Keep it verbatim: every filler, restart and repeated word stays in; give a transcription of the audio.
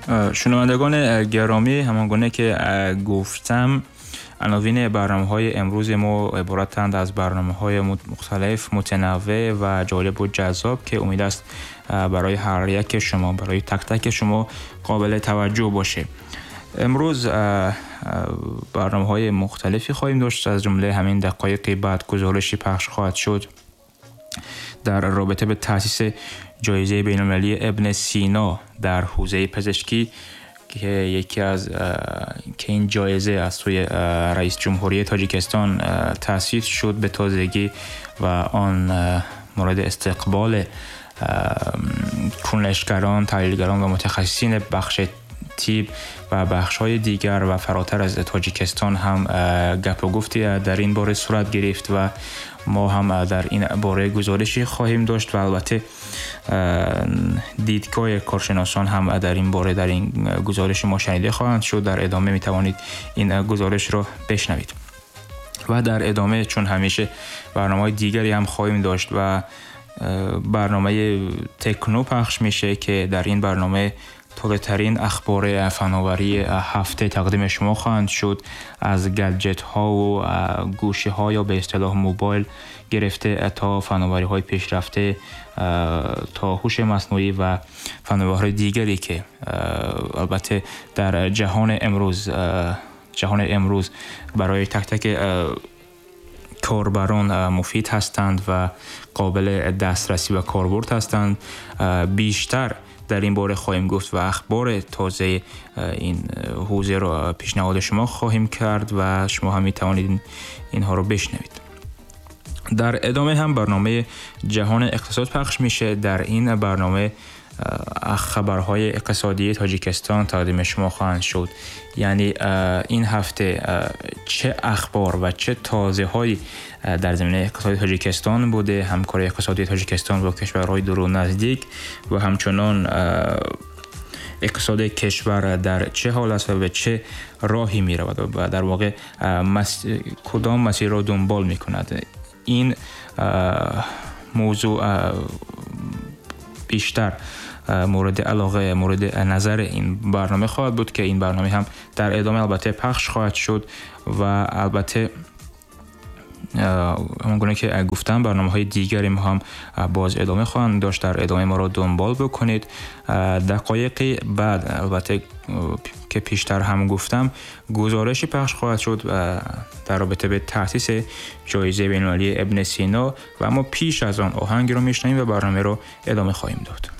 Шунавандагони гиромӣ, ҳамон гуна ки гуфтам, عناوین برنامه‌های امروز ما عبارتند از برنامه‌های مختلف، متنوع و جالب و جذاب که امید است برای هر یک شما، برای تک تک شما قابل توجه باشه. امروز برنامه‌های مختلفی خواهیم داشت، از جمله همین دقایقی بعد گزارشی پخش خواهد شد در رابطه به تأسیس جایزه بین‌المللی ابن سینا در حوزه پزشکی که یکی از که این جایزه از سوی رئیس جمهوری تاجیکستان تأسیس شد به تازگی و آن مورد استقبال کنشگران، تحلیلگران و متخصصین بخش تیب و بخش‌های دیگر و فراتر از تاجیکستان هم گپ و گفتی در این باره صورت گرفت و ما هم در این باره گزارشی خواهیم داشت و البته دیدگاه کارشناسان هم در این باره در این گزارش ما شنیده خواهند شد. در ادامه می توانید این گزارش را بشنوید و در ادامه چون همیشه برنامه‌های دیگری هم خواهیم داشت و برنامه تکنو پخش میشه که در این برنامه تازه‌ترین اخبار فناوری هفته تقدیم شما خواهند شد، از گجت ها و گوشی ها یا به اصطلاح موبایل گرفته تا فناوری های پیشرفته تا هوش مصنوعی و فناوری دیگری که البته در جهان امروز جهان امروز برای تک تک کاربران مفید هستند و قابل دسترسی و کاربرد هستند. بیشتر در این باره خواهیم گفت و اخبار تازه این حوزه را پیشنهاد شما خواهیم کرد و شما هم میتوانید اینها رو بشنوید. در ادامه هم برنامه جهان اقتصاد پخش میشه. در این برنامه خبرهای اقتصادی تاجیکستان تقدیم شما خواهند شد، یعنی این هفته چه اخبار و چه تازه هایی در زمینه اقتصادی تاجیکستان بوده، همکاری اقتصادی تاجیکستان با کشورهای دور و نزدیک و همچنان اقتصاد کشور در چه حال است و به چه راهی می رود و در واقع مس... کدام مسیر را دنبال می کند. این موضوع بیشتر مورد علاقه، مورد نظر این برنامه خواهد بود که این برنامه هم در ادامه البته پخش خواهد شد و البته همانگونه که گفتم برنامه های دیگری ما هم باز ادامه خواهند داشت. در ادامه ما را دنبال بکنید. دقایقی بعد البته که پیشتر هم گفتم گزارشی پخش خواهد شد در رابطه به تأسیس جایزه بین‌المللی ابن سینا و اما پیش از آن آهنگ رو میشنویم و برنامه رو ادامه خواهیم داد.